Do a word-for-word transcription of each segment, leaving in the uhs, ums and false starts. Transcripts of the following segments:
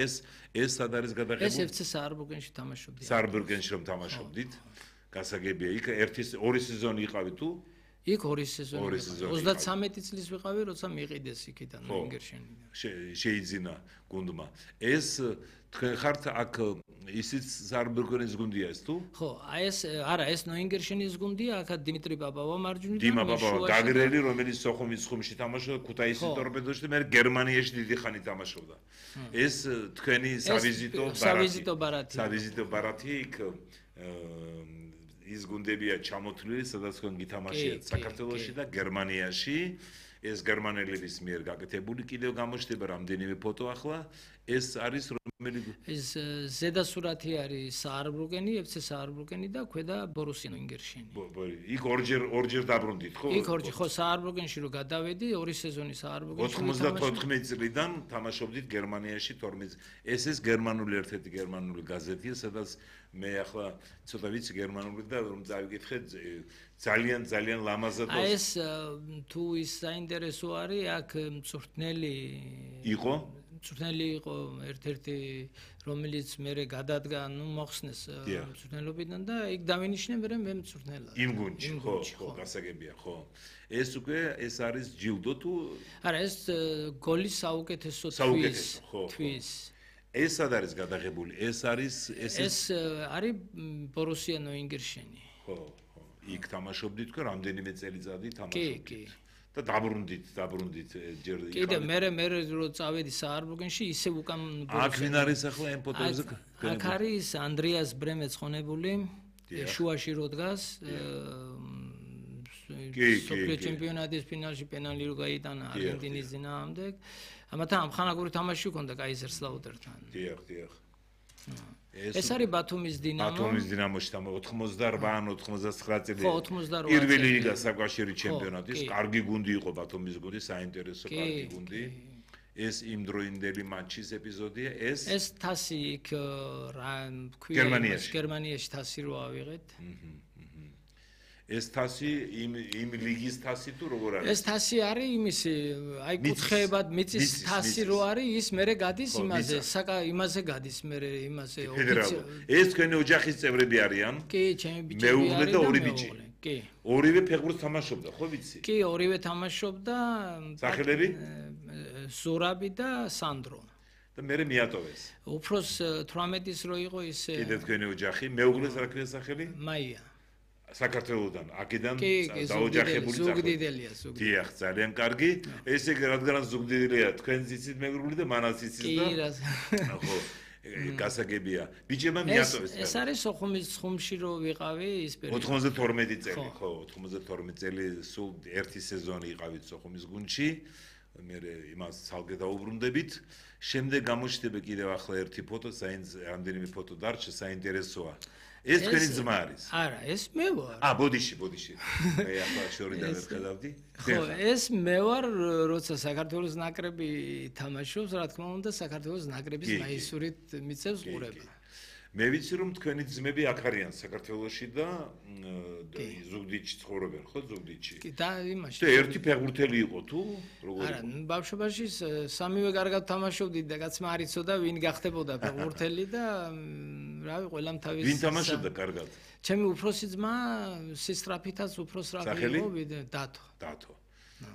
ეს ეს სად არის გადაღებული? ეს ეფ ცე საარბრუკენში თამაშობდი. საარბრუკენში რომ თამაშობდით, გასაგებია. იქ ერთი ორი სეზონი იყავი თუ? იქ ორი სეზონი. ოცდათრამეტი წლის ვიყავი, როცა მიყიდეს იქიდან ინგერშენიდან. შეიძინა გუნდმა. ეს თქვენ ხართ აქ ისიც საარბრუკენის გუნდია ეს თუ? ხო, აი ეს არა, ეს ნოინგერშენის გუნდია, აქ დიმიტრი ბაბავა მარჯვნიდან. დიმა ბაბავა, გაგრელი, რომელიც სოხუმის ხუმში თამაშობდა, ქუთაისის ტორპედოში და მე გერმანიაში დიდი ხანი თამაშობდა. ეს თქვენი სავიზიტო ბარათი. სავიზიტო ბარათი. სავიზიტო ბარათი იქ ის გუნდებია ჩამოთვლილი, სადაც თქვენ გითამაშიათ საქართველოში და გერმანიაში. ეს გერმანელების მიერ გაკეთებული კიდევ გამოჩნდება რამდენიმე ფოტო ახლა. ეს არის რომელი ეს ზედა სურათი არის საარბრუკენი, ეფ ცე საარბრუკენი და ქვედა ბორუსია ნოინგერშენი. იქ ორჯერ ორჯერ დაბრუნდით, ხო? იქ ორჯერ, ხო, საარბრუკენში რო გადავედი, ორი სეზონი საარბრუკენში. ოცდათოთხმეტ წლიდან თამაშობდით გერმანიაში თორმეტ. ეს ეს გერმანული ერთ-ერთი გერმანული გაზეთია, სადაც მე ახლა ცოტა ვიცი გერმანული და რომ წავიკითხე ძალიან ძალიან ლამაზად. აი ეს თუ ის საინტერესო არის, აქ მწვრთნელი იყო? მწვრთნელი იყო ერთ-ერთი, რომელიც მერე გადადგა, ნუ მოხსნეს მწვრთნელობიდან და იქ დავინიშნე მერე მე მწვრთნელად. იმ გუნდში, ხო, ხო, გასაგებია, ხო. ეს უკვე ეს არის ჯილდო თუ? არა, ეს გოლის საუკეთესო თვის. თვის. ეს სად არის გადაღებული? ეს არის ეს ეს არის ბორუსია ნოინგერშენი. ხო, ხო. იქ თამაშობდით თქვენ რამდენიმე წელიწადი თამაშობდით. კი, კი. და დაბრუნდით, დაბრუნდით ჯერ იქ. კიდე მე მე რო წავედი საარბრუკენში, ისე უკან აქ ვინ არის ახლა ამ ფოტოებზე? აქ არის ანდრეას ბრემე ცხონებული, შუაში რო დგას. სოფლიო ჩემპიონატის ფინალში პენალი რო გაიტანა არგენტინის დინამომდე. ამათან ამხანაგური თამაში ჰქონდა კაიზერსლაუტერთან. დიახ, დიახ. ეს არის ბათუმის დინამო. ბათუმის დინამოში თამაშობდა ოცდაოთხმოცდარბა ან ოცდაოთხმოცდათხრა წელი. ხო, ოცდაოთხმოცდაოთხ. პირველი ლიგა საკავშირი ჩემპიონატის, კარგი გუნდი იყო ბათუმის გუნდი, საინტერესო კარგი გუნდი. ეს იმ დროინდელი მატჩის ეპიზოდია, ეს ეს თასი იქ რა ქვია, გერმანიაში თასი რო ავიღეთ. ეს თასი იმ იმ ლიგის თასი თუ როგორ არის? ეს თასი არის იმისი, აი კუთხეებად მიწის თასი რო არის, ის მერე გადის იმაზე, საკა იმაზე გადის მერე იმაზე ოფიციალურად. ეს თქვენი ოჯახის წევრები არიან? კი, ჩემი ბიჭები არიან. მეუღლე და ორი ბიჭი. კი. ორივე ფეხბურთს თამაშობდა, ხო ვიცი? კი, ორივე თამაშობდა. სახელები? ზურაბი და სანდრო. და მე მიატოვეს. უფროს თვრამეტის რო იყო ის კიდე თქვენი ოჯახი, მეუღლეს რა ქვია სახელი? მაია. საქართველოსდან, აქედან დაოჯახებული ზუგდიდელია, ზუგდიდელი. დიახ, ძალიან კარგი. ესე იგი, რადგანაც ზუგდიდელია, თქვენ იცით მეგრული და მანაც იცით და. კი, რა. ხო, გასაგებია. ბიჭებმა მიატოვეს. ეს არის სოხუმის ხუმში რო ვიყავი ის პერიოდი. ოცდათორმეტი წელი, ხო, ოცდათორმეტი წელი სულ ერთი სეზონი იყავით სოხუმის გუნდში. მე იმას ცალკე დაუბრუნდებით. შემდეგ გამოჩნდება კიდევ ახლა ერთი ფოტო, რამდენიმე ფოტო დარჩა, საინტერესოა. ეს თქვენი ძმა არის? არა, ეს მე ვარ. აა, ბოდიში, ბოდიში. მე ახლა შორიდან ვხედავდი. ხო, ეს მე ვარ, როცა საქართველოს ნაკრები თამაშობს, რა თქმა უნდა, საქართველოს ნაკრების მაისურით მიწევს ყურება. მე ვიცი რომ თქვენი ძმები აქ არიან საქართველოში და ზუგდიდში ცხოვრობენ, ხო, ზუგდიდში? კი, და იმაში. და ერთი ფეხბურთელი იყო თუ როგორ? არა, ბავშვობაში სამივე კარგად თამაშობდით და კაცმა არ იცოდა ვინ გახდებოდა ფეხბურთელი და რავი, ყველამ თავის ვინ თამაშობდა კარგად? ჩემი უფროსი ძმა სისტრაფითაც უფრო სწრაფი იყო ვიდრე დათო. დათო.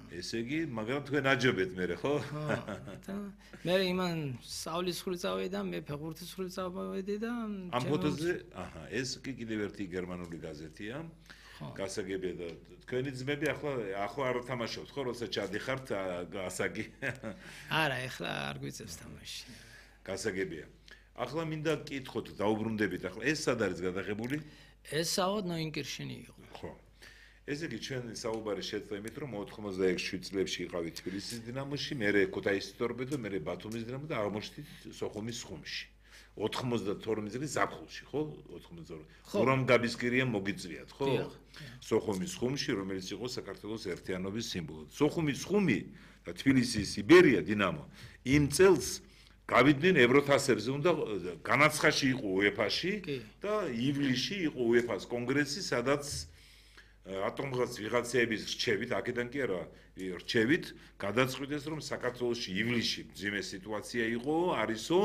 ესე იგი, მაგრამ თქვენ აჯობეთ მე ხო? და მე იმან სწავლის ხრი წავედი და მე ფეხბურთის ხრი წავედი და ამ ფოტოზე, აჰა, ეს კი კიდევ ერთი გერმანული გაზეთია. გასაგებია და თქვენი ძმები ახლა ახლა არ თამაშობთ ხო, როცა ჩადიხართ გასაგი? არა, ახლა არ გვიწევს თამაში. გასაგებია. ახლა მინდა გკითხოთ, დაუბრუნდებით ახლა. ეს სად არის გადაღებული? ეს საერთოდ ნოინგერშენი იყო. ხო. ესე იგი, ჩვენ საუბარი შეწყდა იმით, რომ ოცდაექვსი წლებში იყავით თბილისის დინამოში, მერე ქუთაისის ტორპედო, მერე ბათუმის დინამო და აღმოჩნდით სოხუმის ხუმში. ოცდათორმეტ წლის ზაფხულში, ხო? ოცდათორმეტ. ხურამ გაბისკირია მოგიწვიათ, ხო? სოხუმის ხუმში, რომელიც იყო საქართველოს ერთიანობის სიმბოლო. სოხუმის ხუმი და თბილისის იბერია დინამო იმ წელს გავიდნენ ევროთასებზე, უნდა განაცხადში იყო უეფაში და ივლისში იყო უეფას კონგრესი, სადაც ატომღაც ვიღაცეების რჩევით, აქედან კი არა, რჩევით გადაწყვიტეს, რომ საქართველოში ივლისში მძიმე სიტუაცია იყო, არისო